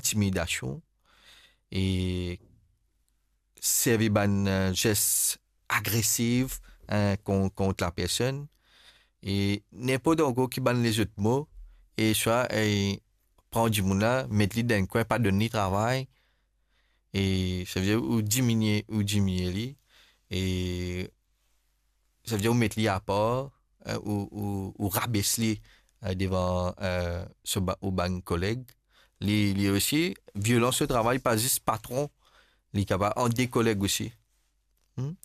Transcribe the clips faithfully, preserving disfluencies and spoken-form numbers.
intimidasion e servi bann, eh, zes agresif, eh, kon-, kont lapersonn. E ninport ankor ki bann lezot mo, e swa, eh, pran dimoun la, met li dan enn kwin, pa donn li travay, e savedir ou diminie, ou diminie li, e savedir ou met li apar, eh, ou, ou, ou rabes li, eh, devan, eh, so ba-, ou bann koleg. Li, li osi, violans o travay, pa zis patron, li kapav ant de koleg osi. Hmm?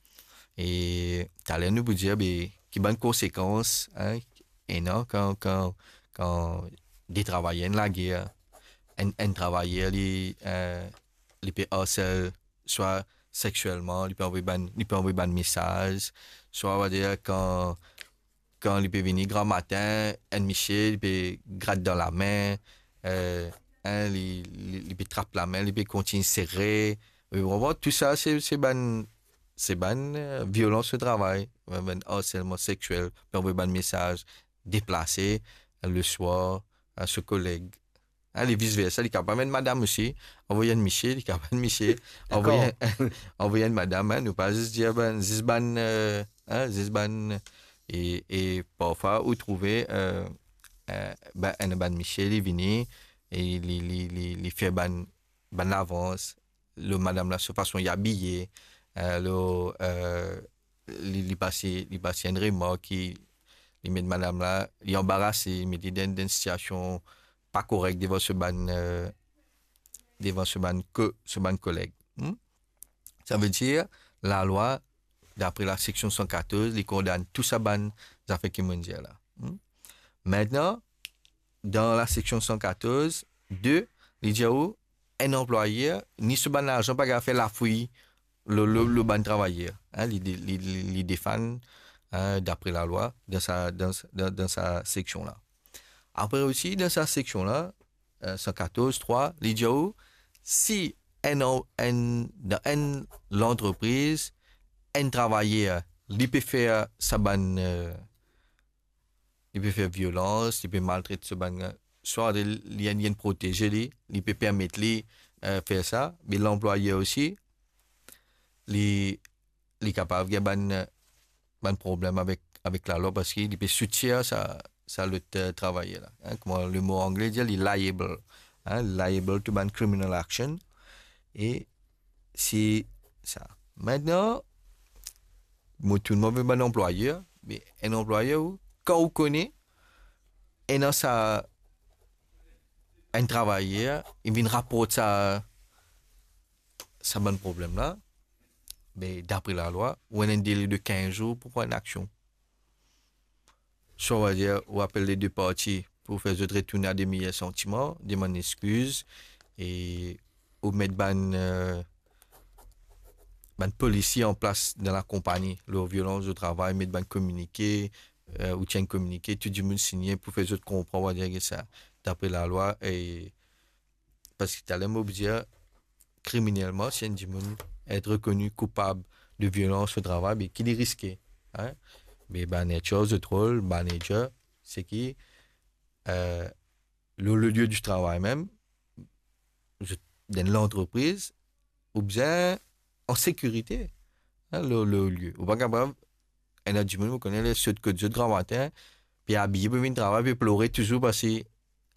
E taler nou pou dir, be, ki bann konsekans, hein, ena kan, kan, kan de travayer enn lager, enn, enn travayer li, eh, li pe arsel swa seksielman, li pe anvoy bann, li pe anvoy bann mesaz, swa, on va dir, kan, kan li pe vini gramatin, enn misie, li pe grat dan lame, eh, hein, li, li, li pe trap lame, li pe kontign sere. Ou konpran? Tou sa, se, se bann, se bann, eh, violans o travay, bann arselman seksiel, pe anvoy bann mesaz, deplase, eh, leswar, a so koleg. Hein, li vis versa, li kapav enn madam osi, anvoy enn misie, li kapav enn misie, anvoy enn, anvoy enn madam, hein, nou pa zis dir bann, zis bann, eh, hein, zis bann, e, e parfwa ou trouve, eh, eh, bann, enn bann misie, li vini, e li, li, li, li fer bann, bann lavans, lor madam la, so fason li abiye, eh, lor, eh, li, li pase, li pase enn remark ki li met madam la, li anbarase, li met li dan, dan enn sitiasion pa korek devan so bann, eh, devan so bann ko-, so bann koleg. Hmm? Savedir, lalwa, dapre laseksion san katorz, li kondann tou sa bann zafer ki mo'nn dir la. Hmm? Mintnan, dan laseksion san katorz de, li dir ou, enn anplwayer, ni so bann larzan pa kapav fer lafouy lor, lor, lor bann travayer. Hein, li de-, li, li, li defann, hein, dapre lalwa, dan sa, dan, dan, dan sa seksion la. Apre osi, dan sa seksion la, eh, san katorz trwa, li dir ou, si enn an-, enn, dan enn lantrepriz, enn travayer, li pe fer sa bann, eh, li pe fer violans, li pe maltret so bann, swa li, li, li inn proteze li, li pe permet li, eh, fer sa, me lanplwayer osi, li, li kapav gagn bann, bann problem avek, avek lalwa, parski li pe soutir sa, sa lot, eh, travayer la. Hein, kouma lemo angle dir, li liable. Hein, liable to bann criminal action. E se sa. Mintnan, mo tourn mo ver bann anplwayer, me enn anplwayer ou, kan ou kone, ena sa, enn travayer, li vinn raport sa, sa bann problem la, be, dapre lalwa, ou ena enn dele de kinz zour pou pran enn aksion. Swa, on va dir, ou apel le de parti pou fer zot retourn a de meyer santiman, demann exkiz, e ou met bann, eh, bann polisi an plas dan lakonpani, lor violans o travay, met bann kominike, eh, ou tir enn kominike, tou dimoun signe pou fer zot konpran, on va dir ki sa, dapre lalwa, e parski taler mo pou dir, kriminelman, si enn dimoun et rekoni koupab de violans o travay, be ki li riske, hein? Be manager, zot rol, manager, se ki, eh, lor le lie di travay mem, zot, dan lantrepriz, ou bizin an sekirite, hein, lor, lor lie. Ou pa kapav, ena dimoun, mo kone, li sot kot zot gramatin, pe abiye pou vinn travay, pe plore touzour, parski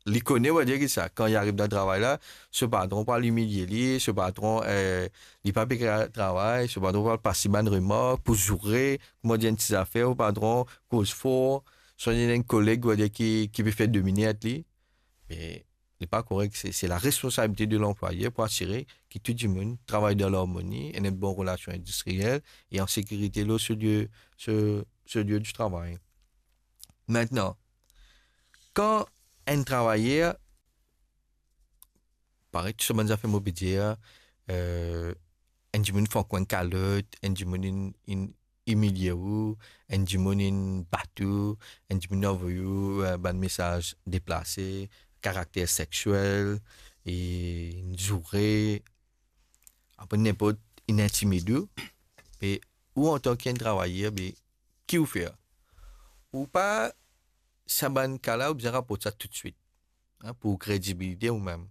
li kone, on va dir ki sa, kan li ariv dan travay la, so patron pral imilie li, so patron, eh, li pa pe kapav travay, so patron pral pas li bann remark, pou zoure, kouma dir enn ti zafer, ou patron koz for, swa li ena enn koleg, on va dir ki, ki pe fer domine li. Me li pa korek, se, se laresponsabilite de lanplwayer pou asire ki tou dimoun travay dan larmoni, ena enn bon relasion endistriyel e an sekirite lor so lie, so, so lie di travay. Mintnan, kan enn travayer, parey tou sa bann zafer mo pe dir, eh, enn dimoun fann ou enn kalot, enn dimoun inn, inn imilie ou, enn dimoun inn bat ou, enn dimoun avoy ou, eh, bann mesaz deplase, karakter seksiel, e inn zoure, apre ninport, inn intimid ou, be ou antan ki enn travayer, be ki ou fer? Ou pa, sa bann ka la, ou bizin raport sa toutswit, hein, pou kredibilite ou mem.